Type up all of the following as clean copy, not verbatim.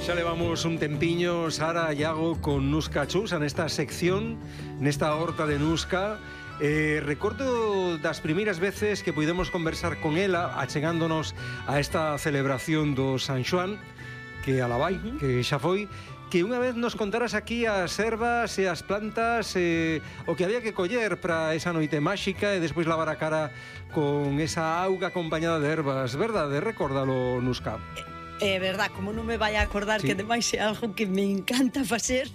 Xa levamos un tempiño, Sara e Iago, con Nusca Chousa nesta sección, nesta horta de Nusca. Recordo das primeiras veces que puidemos conversar con ela, achegándonos a esta celebración do San Xoán, que alá vai, que xa foi, que unha vez nos contaras aquí as ervas e as plantas, o que había que coller para esa noite máxica e despois lavar a cara con esa auga acompañada de ervas, verdade? Recórdalo, Nusca. É verdad, como non me vai a acordar, sí, que ademais é algo que me encanta facer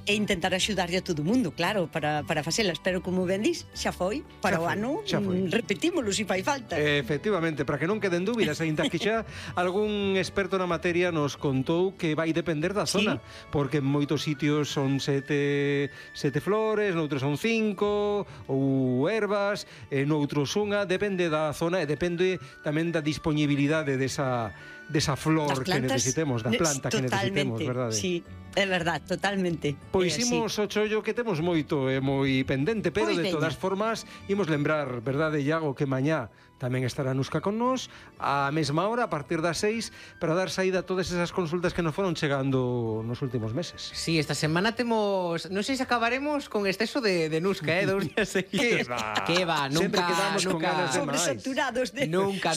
e intentar axudarlle a todo o mundo, claro, para facelas, pero como ben dis, xa foi, para o ano repetímolo se fai falta. Efectivamente, para que non queden dúbidas, ainda que xa algún experto na materia nos contou que vai depender da zona, sí, porque en moitos sitios son sete flores, noutros son 5 ou ervas, noutros unha, depende da zona e depende tamén da disponibilidade desa flor que necesitemos, da planta que necesitemos, verdade? Sí, é verdade, totalmente. Pois imos o chollo que temos moito e moi pendente, pero de todas formas imos lembrar, verdade, Iago, que mañá tamén estará Nusca con nós á mesma hora, a partir das 6, para dar saída a todas esas consultas que nos foron chegando nos últimos meses. Sí, esta semana temos, non sei se acabaremos con exceso de Nusca, 2 días seguidos. Que va, nunca quedamos con ganas de máis. Sobresaturados de... Nunca.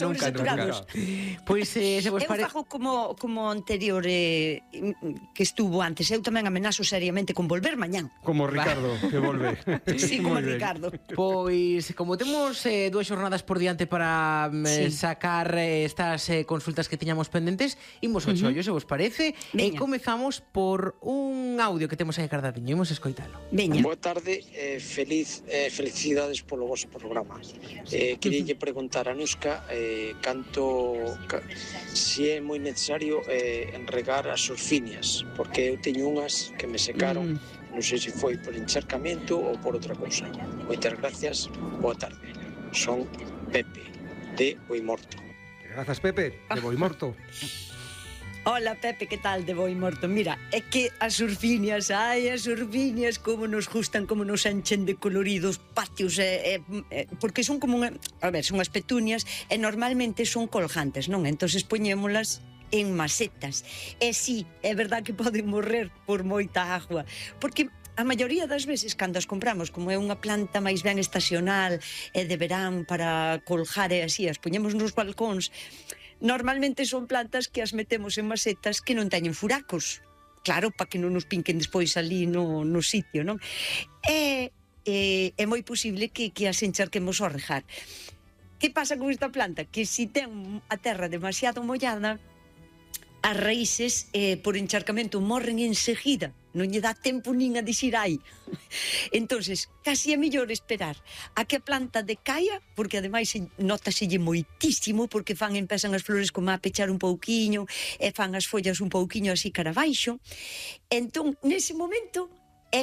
Pois se vos parece... Eu fago como anterior que estuvo antes, eu tamén amenazo seriamente con volver mañán. Como Ricardo, que volve. Sí, como Ricardo. Pois, como temos 2 xornadas por diante para sacar estas consultas que tiñamos pendentes, imos ao chollo, se vos parece, e comezamos por un audio que temos aí cardadiño, imos escoitalo. Boa tarde, felicidades polo vosso programa. Queríalle preguntar a Nusca se é moi necesario enregar as orfinias, porque eu teño unhas que me secaron, non sei se foi por encharcamento ou por outra cousa. Moitas gracias, boa tarde. Son Pepe, de Boimorto. Grazas, Pepe, de Boimorto. Hola, Pepe, que tal, de Boimorto? Mira, é que as urfinias, como nos gustan, como nos enchen de coloridos patios, porque son como son as petunias e normalmente son colgantes, non? Entonces poñémolas en macetas. E sí, é verdad que poden morrer por moita agua, porque a maioría das veces, cando as compramos, como é unha planta máis ben estacional e de verán para colgar e así, as poñemos nos balcóns, normalmente son plantas que as metemos en macetas que non teñen furacos. Claro, para que non nos pinquen despois ali no sitio, non? É moi posible que as encharquemos ao regar. Que pasa con esta planta? Que se ten a terra demasiado mollada, as raíces por encharcamento morren enseguida, non lle dá tempo nin a dicir ai. Entonces, casi é mellor esperar a que a planta decaia, porque ademais nótaselle moitísimo, porque empezan as flores como a pechar un pouquiño, e fan as follas un pouquiño así cara abaixo. Entón, nese momento,